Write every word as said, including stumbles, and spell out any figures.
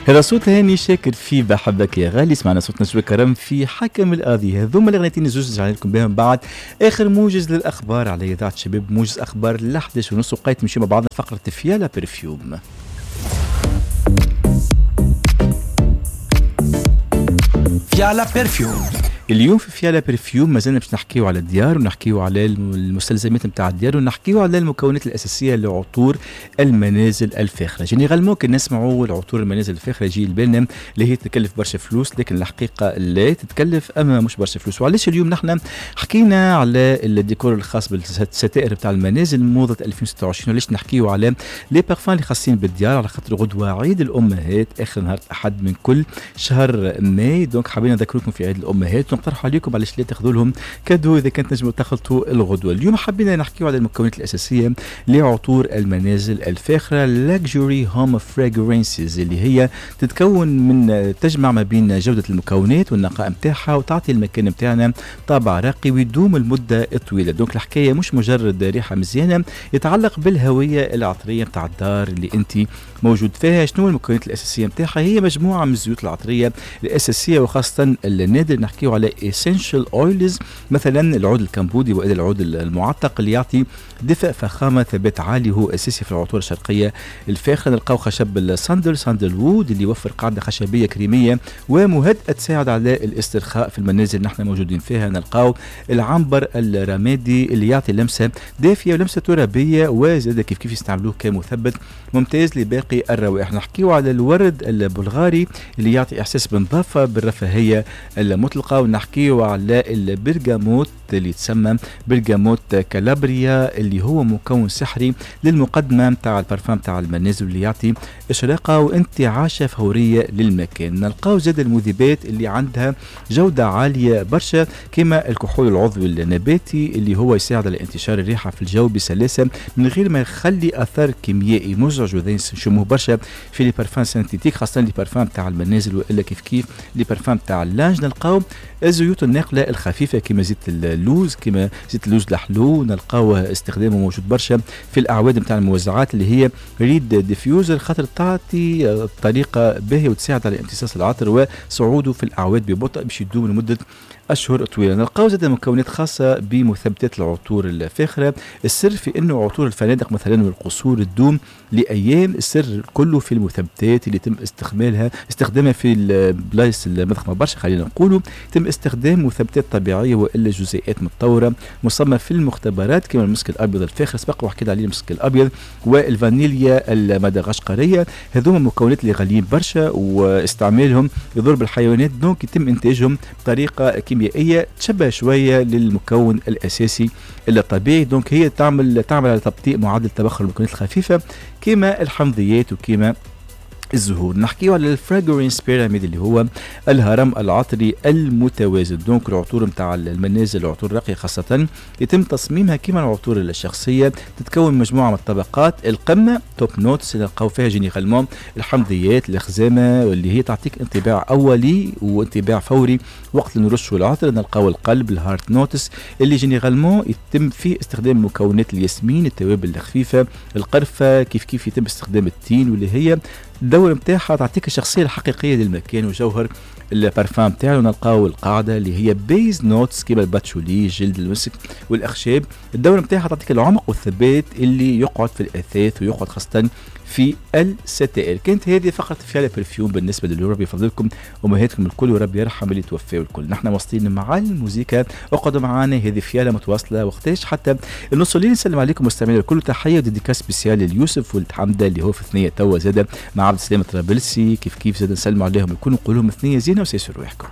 هذا صوت هاني شاكر في بحبك يا غالي، سمعنا صوت نجوى كرم في حكم القاضي. هذوما الاغنيتين زوج رجعنا لكم بهم بعد اخر موجز للاخبار على اذاعة شباب، موجز اخبار ل إحداش ونص وقيت نمشيو مع بعضنا فقره فيالا perfume. فيالا perfume. اليوم في فيالا perfume مازلنا باش نحكيو على الديار ونحكيو على المستلزمات نتاع الديار ونحكيو على المكونات الاساسية لعطور المنازل الفاخرة. généralement كي نسمعوا العطور المنازل الفاخرة يجي لبالنا اللي هي تتكلف برشا فلوس، لكن الحقيقة لا تتكلف اما مش برشا فلوس. وعلاش اليوم نحن حكينا على الديكور الخاص بالستائر نتاع المنازل موضة ألفين وستة وعشرين، وعلاش نحكيو على les parfums اللي خاصين بالديار، على خاطر غدوه عيد الامهات اخر نهار الاحد من كل شهر ماي. donc حابين نذكركم في عيد الامهات نقترحوا عليكم علاش لا تاخذوا لهم cadeau اذا كانت تنجموا تخلطوا الغدوه. اليوم حبينا نحكيو على المكونات الاساسية لعطور المنازل الفاخرة luxury home fragrances، اللي هي تتكون من تجمع ما بين جوده المكونات والنقاء نتاعها وتعطي المكان نتاعنا طابع راقي ويدوم المدة الطويلة. donc الحكاية مش مجرد ريحه مزيانه، يتعلق بالهوية العطريه نتاع الدار اللي انت موجود فيها. شنو المكونات الاساسية نتاعها؟ هي مجموعة من الزيوت العطريه الاساسية وخاصة النادر، نحكيو على essential oils، مثلا العود الكمبودي والى العود المعتق اللي يعطي دفء فخامة ثبات عالي، هو اساسي في العطور الشرقية الفاخرة. نلقاو خشب الصندل sandalwood اللي يوفر قاعدة خشبيه كريميه ومهدئه تساعد على الاسترخاء في المنازل نحن موجودين فيها. نلقاو العنبر الرمادي اللي يعطي لمسه دافيه ولمسه ترابيه، وزاد كيف كيف يستعملوه كمثبت ممتاز لباقي الروائح. نحكيو على الورد البلغاري اللي يعطي احساس بالنظافة بالرفاهيه المطلقة، ونحكيو على البرغاموت اللي يتسمى برغاموت كالابريا اللي هو مكون سحري للمقدمة نتاع البارفان نتاع المنازل اللي يعطي اشراقه وانتعاشه فورية للمكان. نلقاو زاد المذيبات اللي عندها جوده عالية برشا كما الكحول العضوي النباتي اللي هو يساعد على انتشار الريحة في الجو بسلاسة من غير ما يخلي اثر كيميائي مزعج، وذا نشموه برشا في les parfums synthétiques خاصة les parfums نتاع المنازل والا كيف كيف les parfums نتاع ال linge. نلقاو الزيوت الناقله الخفيفة كما زيت اللوز، كما زيت اللوز الحلو نلقاو استخدامه موجود برشا في الاعواد نتاع الموزعات اللي هي reed diffuser، خاطر تعطي طريقه باهيه وتساعد على امتصاص العطر وصعوده في الاعواد ببطء باش يدوم لمدة اشهر طويلة. نلقاو زاد مكونات خاصة بمثبتات العطور الفاخرة. السر في انه عطور الفنادق مثلا والقصور تدوم لايام، السر كله في المثبتات اللي يتم استعمالها استخدامها في البلايص المضخمه برشا، خلينا نقولوا يتم استخدام مثبتات طبيعية والا جزيئات متطورة مصممه في المختبرات كما المسك الابيض الفاخر سبق وحكيت عليه، المسك الابيض والفانيليا المدغشقريه. هذوما مكونات اللي غاليين برشا واستعمالهم يضر بالحيوانات، donc يتم انتاجهم بطريقة كيميائية تشبه شوية للمكون الاساسي الطبيعي. donc هي تعمل تعمل على تبطيء معدل تبخر المكونات الخفيفة كما الحمضيات وكما الزهور. نحكيو على ال fragrance pyramid اللي هو الهرم العطري المتوازن. donc العطور نتاع المنازل العطور الراقية خاصة يتم تصميمها كما العطور الشخصية، تتكون مجموعة من الطبقات. القمه top notes نلقاو فيها généralement الحمضيات الخزامه واللي هي تعطيك انطباع اولي وانطباع فوري وقت اللي نرشوا العطر. نلقاو القلب ال heart notes اللي généralement يتم فيه استخدام مكونات الياسمين، التوابل الخفيفة، القرفه، كيف كيف يتم استخدام التين واللي هي الدور نتاعها تعطيك الشخصية الحقيقية للمكان وجوهر البارفان نتاعو. نلقاو القاعدة اللي هي base notes كيما الباتشولي، جلد المسك والاخشاب. الدور نتاعها تعطيك العمق والثبات اللي يقعد في الاثاث ويقعد خاصة في الستائر. كانت هذه فقره فيالا perfume بالنسبة لليوم. ربي يفضلكم امهاتكم الكل وربي يرحم اللي توفاوا الكل. نحن واصلين مع الموسيقى، اقعدوا معنا، هذه فيالا متواصلة وقتاش حتى النص الليل. نسلم عليكم مستمعينا الكل، تحية و dédicace spéciale ليوسف ولد حمده اللي هو في ثنيه توا زاده مع عبد السلام الطرابلسي، كيف كيف زاد نسلموا عليهم الكل ونقول لهم ثنيه زينة وسيسروا رواحكم.